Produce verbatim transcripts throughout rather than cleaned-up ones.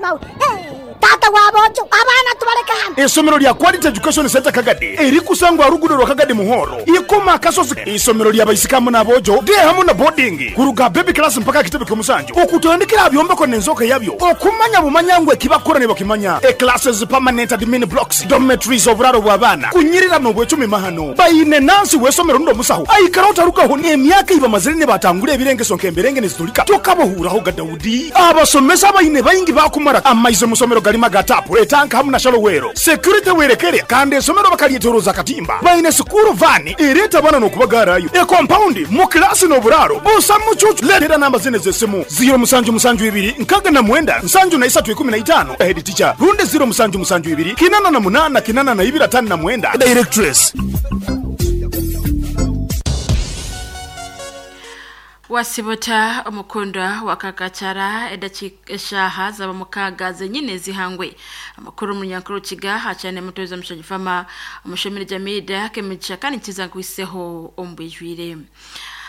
mukama we. Tata w'aboojo abaana tubaleke hano. Isomero lya Quality Education Center Kagadi erikusangwa rugudo rwa Kagadi Muhoro ikoma kasozi. Isomero lya baisikamu n'aboojo de hamu na boarding kuruga baby class mpaka kitebe ky'omusanju okutandikira byombeko n'enzoka yabyo okumanya bumanyangwe kibakora ne bakimanya. E classes, permanent admin blocks, dormitories, oburaro bw'abaana kunyirira n'obwecumi mahano bayine nansi w'esomero ndo musaho aikara otarukaho n'emyaka iba mazire ne batangura ebirengeso nk'emberenge nezitulika tokabohuraho ga Daudi. Abasomesa bayine bayingi bakumara amaize musomero galima gatapu etanka hamu na shalowero security werekere kandi esomero bakalyetoroza katimba bayine sukuru vani ereta bana n'okubagarayo e compound mu klasi n'oburaro busa mucucu. Letera namba zine z'essimu zero musanju musanju ibiri nkaga na mwenda nsanju na isatu ikumi na itano head teacher runde zero musanju musanju ibiri kinana na munana kinana na ibiri atano na mwenda directress. Wasibota omukundwa wakakachara edachikeshaha zaba mukaga zenyine zihangwe amakuru munyankuru kiga hachane mutoza mushajifama omushomere jamida kemicha kandi nkiza nkuiseho ombwijwire.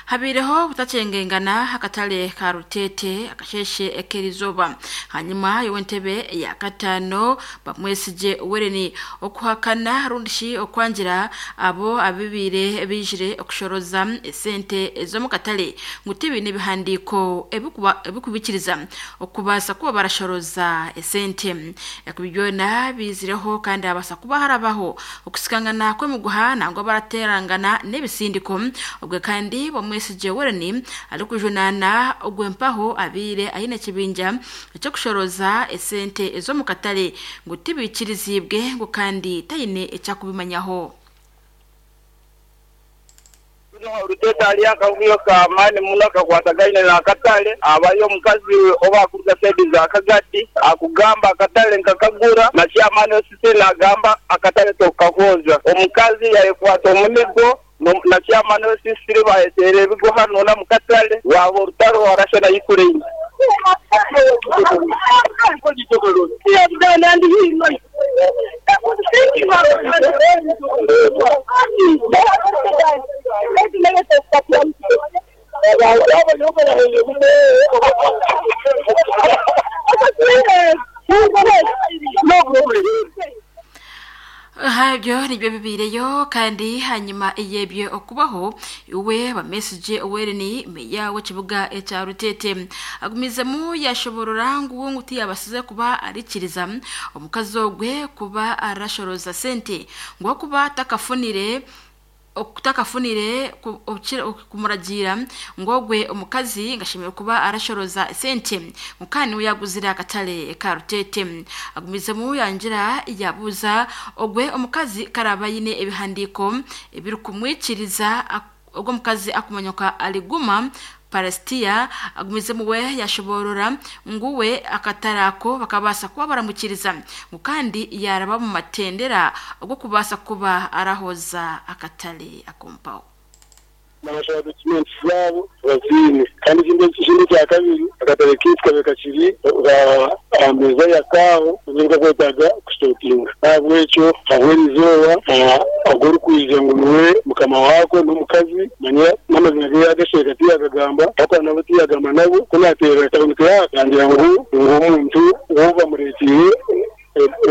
Habireho butachengengana akatale ka Rutete akasheshe ekerizoba hanyuma yowentebe ya katano bamwesije wereni okuhakana rundishi okwangira abo abibire bijire okushoroza esente ezo mu katale ngutibi nebihandiko ebikubikiriza okubasa kuba barashoroza esente ekubyona bizireho kandi abasa kuba harabaho okusikangana kwemuguha nangwa baraterangana nebisindiko obwe kandi bamwesije wereni alikujunana ogwempaho abire ayine kibinja cyo kushoroza esente ezo mu katale ngutibikirizibwe ngo kandi tayine ecyakubimanyaho. Rutete ali akavuyo ka amani muno kakwatagaine na akatale abayo omukazi oba akuruga saidi za Kagadi akugamba akatale nkakagura na chairman osisi nagamba akatale tokahoza omukazi yayekwata omunigo na chairman osisi bayetere ebigo hano na mukatale wabo orutaro warasha na Ukraine. Habyo nibyo bibireyo kandi hanyuma iyebye okubaho iwe ba message owereni meya w'ekibuga ekya Rutete agumizemu yashoborora ngu nguti yabasize kuba arikiriza omukazi ogwe kuba arashoroza sente ngo kuba takafunire okutakafunire kumuragira ngogwe omukazi ngashimira kuba arashoroza sente mukani uyaguzira akatale ka Rutete agumizemu yangira yabuza ogwe omukazi karaba yine ebihandiko ebiri kumwikiriza ogwo mukazi akumanyoka aliguma Palestia agumizemu we yashoborora nguwe akatarako bakabasa kuba baramukiriza mukandi yaraba mu matendera ogwo kubasa kuba arahoza akatale akompaho. Nabashaka documents zabo bazine kandi ikindi ikindi cya kabiri akatale kitwa bekakiri ameza ya kaho nibwo kwetaga kustokinga ntabwo icyo abwerizoba agora kuija ngo niwe mukama wako n'omukazi manya n'amazina ge yagasheka tiyagagamba ariko nabo tiyagamba nabo ko natera taboneka yakangira ngo omuntu woba murekire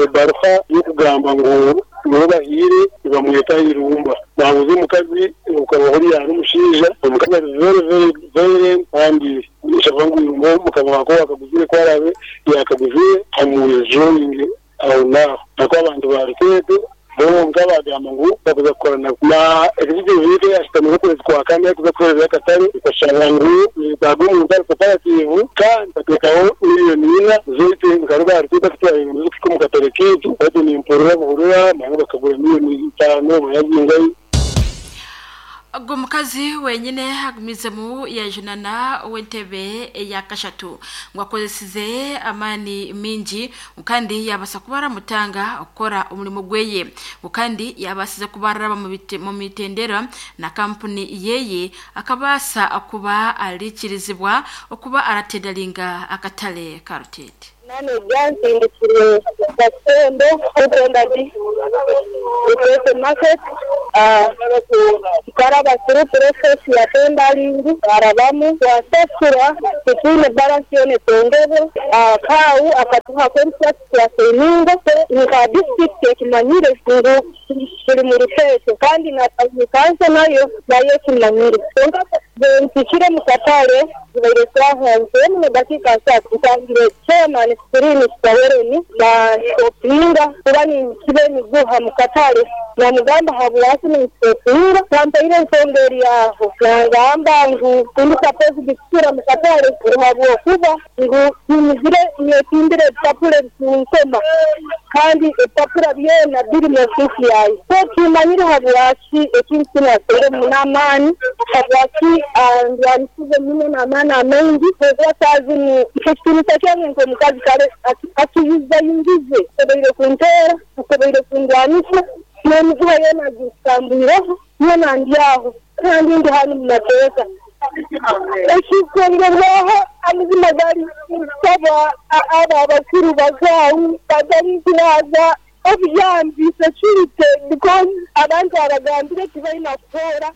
ebaruha yo kugamba ngo nibo bahire bamweta irumba nabuze omukazi ukaba hori yari umushinja omukazi ari very very very kandi nishavuga ngo irumba mukama wako wakaguzire kwarabe yakaguzire amujoining aho naho nako abantu ba Rutete bonka bagamba ngo bakuza kukorana na executive yite yashitamye ukwezi kwa kane kuza kukorera akatare ikashanga ngo nitago umuntu ari cooperative kandi batekaho miliyoni ina zote nkaruba Rutete kutwara ibintu zo mu katare kitu bati ni imporura buhurura naho bakagura miliyoni itanu bayazingayi. Ubwo mukazi wenyine agumizemu yajunana w'entebe ya kashatu ngo akozesize amani mingi kandi yabasa kuba aramutanga okora umurimo gweye kandi yabasize kuba araba mu mitendera na kampuni yeye akabasa akuba arikirizibwa okuba aratedalinga akatale ka Rutete. Nane byansindikiriye gakondo kugenda di Rutete market. Tukaraba through process ya tendering arabamu twasasura tutwine balance yone tongebe kau akatuha contract twaseninga nka district ekimanyire ngu turi mu Rutete kandi na kanso nayo nayo ekimanyire mpikire mu katale zibaire twahanze mu dakika asatu ntangire chairman screen tutawereni na stopinga kuba ninkibe miguha mu katale namugamba habwaki ninstopinga kampaire ensonga eri aho nangamba ngu tindi supposed kutura mu katale habwokuba ngu nimizire nyetimbire ebipapura ebikunsoma kandi ebipapura byona biri mu ofisi yaye so kimanyire habwaki ekintu kinu aseremu n'amaani habwaki ndwanisize muno n'amaani amaingi okwataazi ni ekitinisa kyange nk'omukazi kale akiyuzayungize asoboire kunteera asoboire kundwanisa n'emiguha yoona agisambuireho yoona ndi aho kandi ndi hanu mu mateeka ekikongerwaho amazima gari nsaba abo abakuru bakaawu batarikuraza obuyambi security because abantu abagambire tibalina kutoora.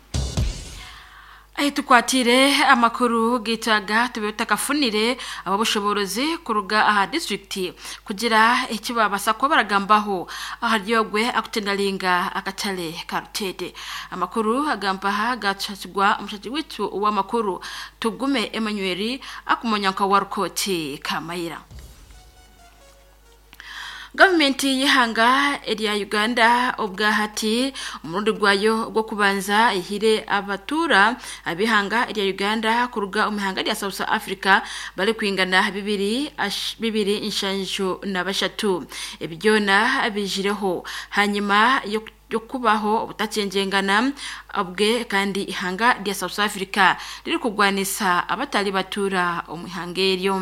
Ahi tukwatire amakuru gitaga tube takafunire ababushoborozi kuruga aha district kugira ekibabasa ko baragambaho aharyogwe akutendalinga akatale karutete amakuru agamba ha gachachigwa omushaji witu w'amakuru Tugume Emmanuel akumonya nka warukoti Kamayira. Gavumenti y'ihanga erya Uganda obwahati umurundi gwayo gwo kubanza ihire abatura abihanga erya Uganda kuruga omihanga rya South Africa bali kwingana bibiri bibiri inshanjo na bashatu ebyona bijireho hanyuma yo yokubaho obutacenjengana obwe kandi ihanga rya South Africa riri kugwanisa abatali batura omihanga eryo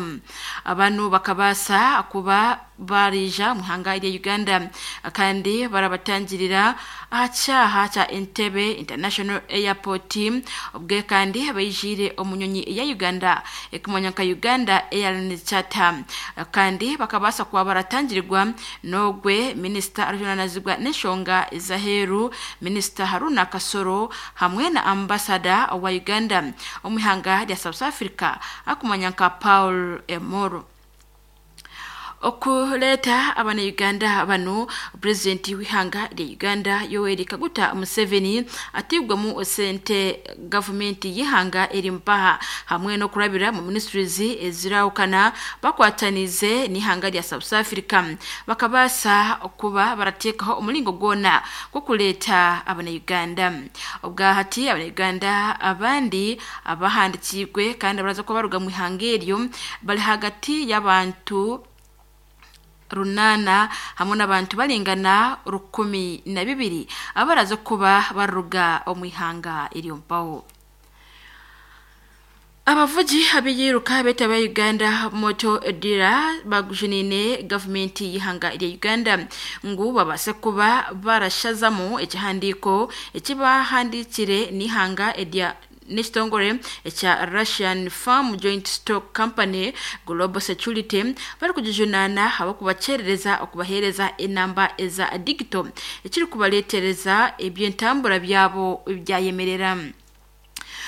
abantu bakabasa kuba barija muhanga rya Uganda kandi barabatangirira ahacaha cha Entebbe International Airport obwe kandi bayijire omunyonyi ya Uganda ekumanya nka Uganda Airlines Charter kandi bakabasa kuba baratangirirwa nogwe Minister arujunanazibwa n'enshonga Zaheru Minister Haruna Kasoro hamwe na ambassador wa Uganda omihanga rya South Africa akumanya nka Paul Emoro. Okuleta abana Uganda bano president w'ihanga rya Uganda Yoweri Kaguta Museveni atigwa mu sente government y'ihanga eri mpaha hamwe no kurabira mu ministries ezirawukana bakwatanize n'ihanga rya South Africa bakabasa okuba baratekaho omulingo gwona gwo kuleta abana Uganda obwahati abana Uganda abandi abahandikirwe kandi baraza ko baruga mu ihanga eryo bali hagati y'abantu runana hamwe n'abantu balingana rukumi na bibiri abaraza kuba baruga omwihanga iriyo mpawo. Abavugi abiyiruka betaba Uganda Moto Dira bagujunine government y'ihanga rya Uganda ngu babase kuba barashazamo ekihandiko ekibahandikire n'ihanga erya n'ekitongore ekya Russian Farm Joint Stock Company Global Security bari kugijunana abakubacerereza okubahereza enamba eza digital ekiri kubaletereza ebyentambura byabo byayemerera.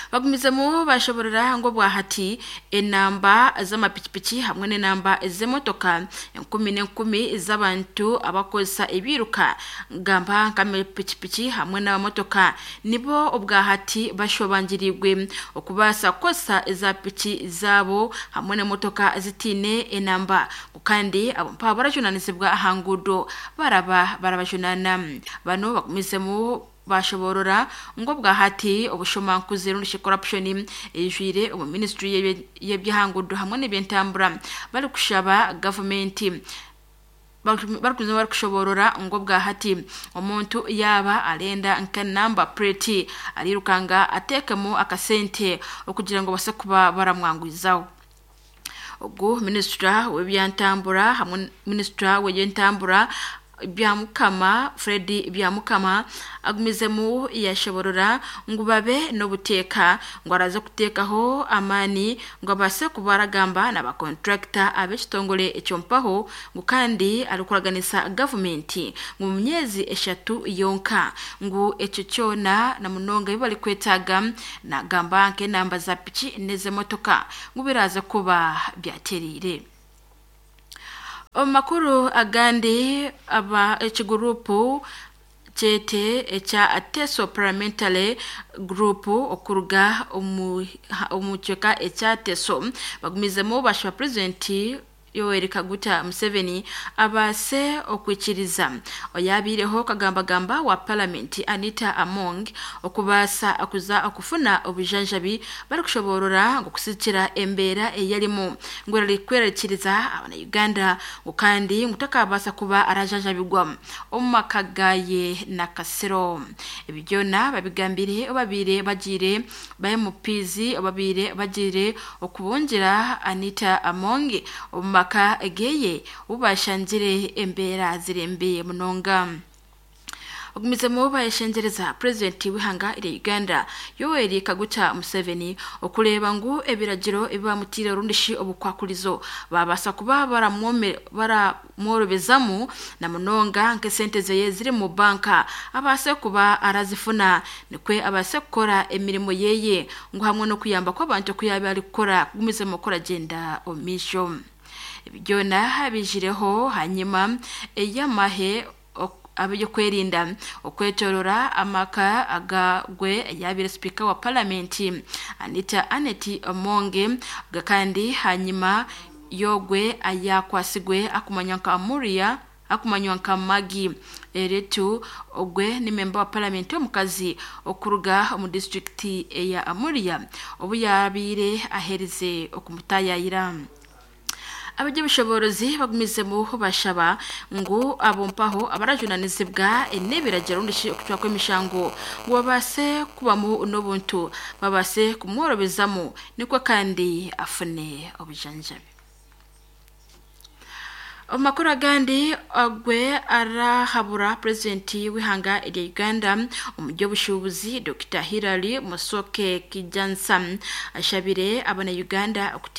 Bagumizemu bashoborera ngo bwahati enamba z'amapikipiki hamwe n'enamba z'emotoka enkumi n'enkumi z'abantu abakozesa ebiruka gamba nk'amapikipiki hamwe n'amamotoka nibo obwahati bashobangirirwe okubaasa kukozesa eza piki zaabo hamwe n'emotoka zitiine enamba kandi abo mpaba barajunanizibwa aha nguudo baraba barabajunana bano bagumizemu bashoborora ngo bwahati obushomankuzi rundi corruption ejwire omu ministry y'ebyahangudu hamwe n'ebyentambura bari kushaba government bari bari kushoborora ngo bwahati omuntu yaba arenda nka number plate arirukanga atekemo akasente okugira ngo base kuba baramwangwizaho. Ubwo minister w'ebyentambura hamwe minister w'ebyentambura Byamukama Fred Byamukama agumizemu yashoborora ngu babe n'obuteeka ngu araze kuteekaho amaani ngu abaase kuba aragamba n'abakontrakita ab'ekitongore ekyompaho ngu kandi arikuraganisa gavumenti ngu mu myezi eshatu yonka ngu ekyo kyona na munonga ebi barikwetaaga nagamba nk'enamba za piki n'ez'emotoka ngu biraza kuba byateriire. Omu makuru agandi aba ekigurupu kyete ekya Ateso Parliamentary Group okuruga omu omu kicweka ekya Ateso bagumizemu bashaba purezidenti Yoweri Kaguta Museveni abaase okwikiriza oyabiireho kagambagamba wa palamenti Anita Among okubaasa kuza okufuna obujanjabi barikushoborora ngu kusikira embeera eyarimu ngu erikwerarikiriza abana-Uganda ngu kandi ngu takabaasa kuba arajanjabigwa omu maka gaye na Kasiro. Ebi byona babigambire obabiire bagiire ba M Ps obabiire bagiire okubungira Anita Among omu maka geye ubashangire embeera zirembe munonga. Ogumizemu bayeshengereza purezidenti w'ihanga erya Uganda Yoweri Kaguta Museveni okureeba ngu ebiragiro ebibamutiire rundishi obukwakurizo babaasa kuba baramworobezamu na munonga nk'esente zeye ziri mu banka abaase kuba arazifuna nikwe abaase kukora emirimo yeye ngu hamwe n'okuyamba kw'abantu okuyaba arikukora kugumizemu okuragenda omu maisho. Ebi byona bijireho hanyuma ey'amahe ab'ebyokwerinda okwetorora amaka agagwe yabire sipiika wa palamenti Anita Annet Amonge kandi hanyuma yogwe ayakwasigwe akumanywa nka Muria akumanywa nka Maggie Eretu ogwe ni memba wa palamenti omukazi okuruga omu disitulikiti eya Amuria obu yabiire aherize okumutayayira. Abajya bagumizemu bashaba ngu abompaho abarajunanizibwa n'ebiragiro rundi okucwa kw'emishango ngu babaase kubamu n'obuntu babaase kumworobezamu nikwo kandi afune obujanjabi. Omu makuru agandi agwe arahabura purezidenti w'ihanga erya Uganda omu by'obushuubuzi Dokita Hillary Musoke Kijansa ashabire abana-Uganda